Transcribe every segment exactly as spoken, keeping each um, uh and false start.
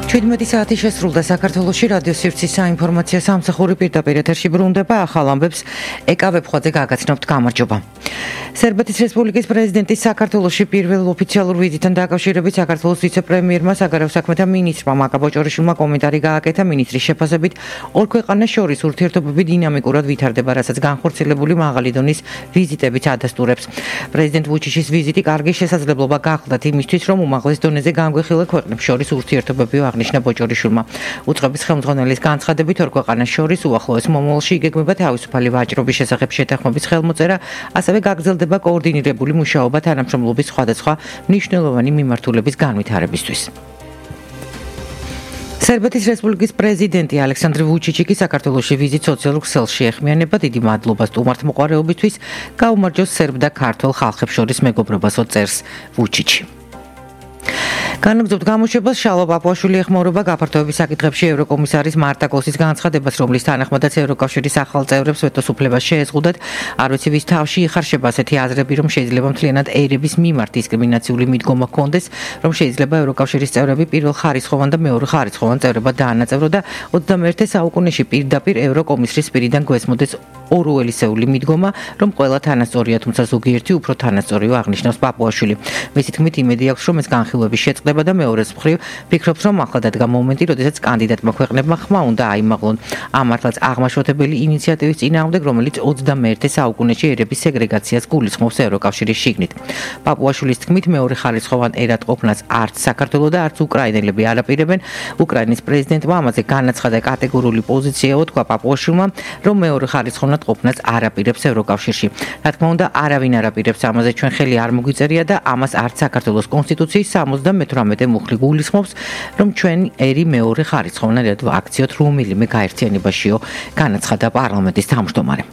ჩვიდმეტი საათი შესრულდა საქართველოში რადიო სივრცის საინფორმაციო სამსახური პირდაპირ ეთერში ბრუნდება ახალ ამბებს ეკავებხვაძე გაგაცნობთ გამარჯობა. სერბეთის რესპუბლიკის პრეზიდენტის საქართველოში პირველ ოფიციალურ ვიზიტთან დაკავშირებით საქართველოს ვიცე-პრემიერმა საგარეო საქმეთა მინისტრმა მაკა ბოჭორიშვილმა კომენტარი გააკეთა მინისტრის შეფასებით ორ ქვეყანას შორის ურთიერთობები დინამიკურად ვითარდება, რასაც განხორციელებული მაღალი დონის ვიზიტებიც ადასტურებს. პრეზიდენტ ვუჩიჩის ვიზიტი კარგი შესაძლებლობა გახლდათ იმისთვის, რომ უმაღლეს დონეზე განგვეხილო ქვეყნებს შორის ურთიერთობები აღნიშნა ბოჭორიშვილმა. უწყების ხელმძღვანელის განცხადებით ორ ქვეყანას შორის უახლოეს მომავალში იგეგმება თავისუფალი ვაჭრობის შესახებ შეთანხმების ხელმოწერა, ასევე გაგრძელდება კოორდინირებული მუშაობა თანამშრომლობის სხვადასხვა მნიშვნელოვანი მიმართულების განვითარებისთვის. სერბეთის რესპუბლიკის პრეზიდენტი ალექსანდრე ვუჩიჩი კი საქართველოში ვიზიტ სოციალურ ქსელში ეხმიანება დიდი მადლობა სტუმართმოყვარეობისთვის, გაუმარჯოს სერბ და ქართველ ხალხებს შორის მეგობრობასო წერს ვუჩიჩი. განაგრძობთ გამოშვებას შალვა პაპუაშვილი ეხმაურება გაფართოების საკითხებში ევროკომისარის მარტა კოსის განცხადებას, რომლის თანახმადაც ევროკავშირის ახალ წევრებს ვეტოს უფლებას შეეზღუდათ. არ ვიცი ვის თავში იხარშება ასეთი აზრები, რომ შეიძლება მთლიანად ერების მიმართ დისკრიმინაციული მიდგომა ჰქონდეს, რომ შეიძლება ევროკავშირის წევრები პირველხარისხოვან და მეორეხარისხოვან წევრებად დაანაწევრონ და ოცდამეერთე საუკუნეში პირდაპირ ევროკომისრის პირიდან გვესმოდეს ორუელისეული მიდგომა, რომ ყველა თანასწორია, თუმცა ზოგიერთი უფრო თანასწორია, აღნიშნავს პაპუაშვილი. მისი თქმით, იმედი აქვს, რომ ეს განხილვების შეწყდება და მეორეს მხრივ ფიქრობს, რომ ახლა დადგა მომენტი, როდესაც კანდიდატმა ქვეყნებმა ხმა უნდა აიმაღლონ ამ მართლაც აღმაშფოთებელი ინიციატივის წინააღმდეგ, რომელიც ოცდამეერთე საუკუნეში ერების სეგრეგაციას გულისხმობს ევროკავშირის შიგნით. პაპუაშვილის თქმით, მეორეხარისხოვან ერად ყოფნას არც საქართველო და არც უკრაინელები არ აპირებენ. უკრაინის პრეზიდენტმა ამაზე განაცხადა კატეგორიული პოზიცია, თქვა პაპუაშვილმა, რომ მეორეხარისხოვან ყოფნას არ აპირებს ევროკავშირში. რა თქმა უნდა, არავინ არ აპირებს ამაზე, ჩვენ ხელი არ მოგვიწერია და ამას არც საქართველოს კონსტიტუციის სამოცდამეთვრამეტე მუხლი გულისხმობს, რომ ჩვენ ერი მეორე ხარისხოვანად ვაქციოთ რომელიმე გაერთიანებაშიო, განაცხადა პარლამენტის თავმჯდომარე.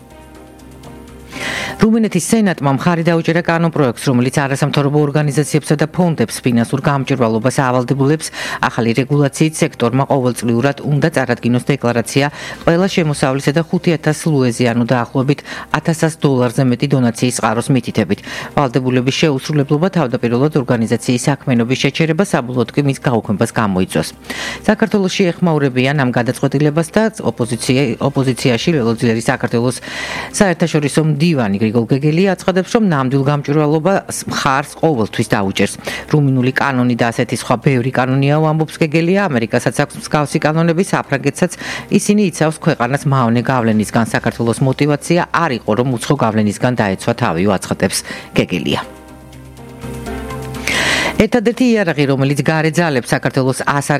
რუმინეთის სენატმა მხარი დაუჭერა კანონპროექტს, რომელიც არასამთავრობო ორგანიზაციებსა და ფონდებს ფინანსურ გამჭვირვალობას ავალდებულებს. ახალი რეგულაციით სექტორმა ყოველწლიურად უნდა წარადგინოს დეკლარაცია ყველა შემოსავლისა და ხუთი ათას ლუეზე, ანუ დაახლოებით ათასას დოლარზე მეტი დონაციის წყაროს მითითებით. ვალდებულების შეუსრულებლობა თავდაპირველად ორგანიზაციის საქმიანობის შეჩერება საბოლოოდ კი მის გაუქმებას გამოიწვევს. საქართველოში ეხმაურებიან ამ გადაწყვეტილებას და ოპოზიცია ოპოზიციაში ლელოძიერი საქართველოს საერთაშორისო მდივანი გრიგოლ გეგელია აცხადებს, რომ ნამდვილ გამჭვირვალობას მხარს ყოველთვის დაუჭერს. რუმინული კანონი და ასეთი სხვა ბევრი კანონია, ამბობს გეგელია, ამერიკასაც აქვს მსგავსი კანონები, საფრანგეთსაც. ისინი იცავს ქვეყანას მავნე გავლენისგან. საქართველოს мотиваცია არ იყო, რომ უცხო გავლენისგან დაეცვა თავი, აცხადებს გეგელია. ერთადერთი იარაღი, რომელიც გარე ძალებს საქართველოს ას